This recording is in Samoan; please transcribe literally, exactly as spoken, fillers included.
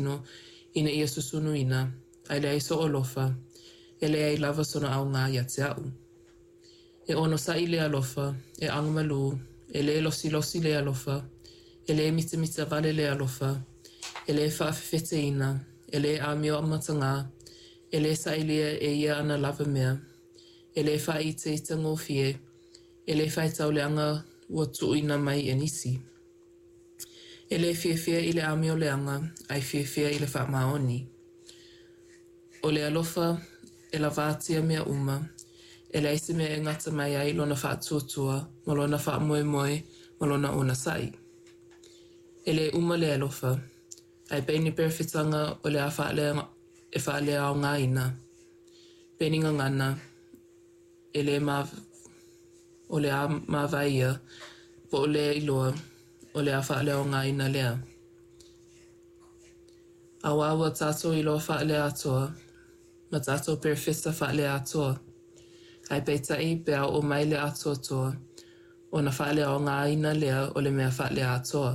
tino ina ia susunuina, ae leai sou alofa, e leai lava sona aoga ia te aʻu. E onosaʻi le alofa, e agamalu, e le losilosi le alofa, e le mitamita wale le alofa, e le faafefeteina, e le amio matagā, e le sailia e ia ana lava mea, e le faaitaitagofie, e le faitau leaga ua tuuina mai e nisi. E le fiafia i le amioleaga, ae fiafia i le faamaoni. O le alofa e lavatia mea uma, e leai se mea e gata mai ai lona faatuatua ma lona faamoemoe ma lona onosai. E le uma le alofa, ae pei ni perofetaga o le a faale e faaleaogaina, pei ni gagana e le ma, o le a mavae ia, po o le iloa, o le a faaleaogaina lea. Auā ua tatou iloa faaleatoa ma tatou perofeta faaleatoa. Ae peitai pe a oo mai le atoatoa, ona faaleaogaina lea o le mea faaleatoa.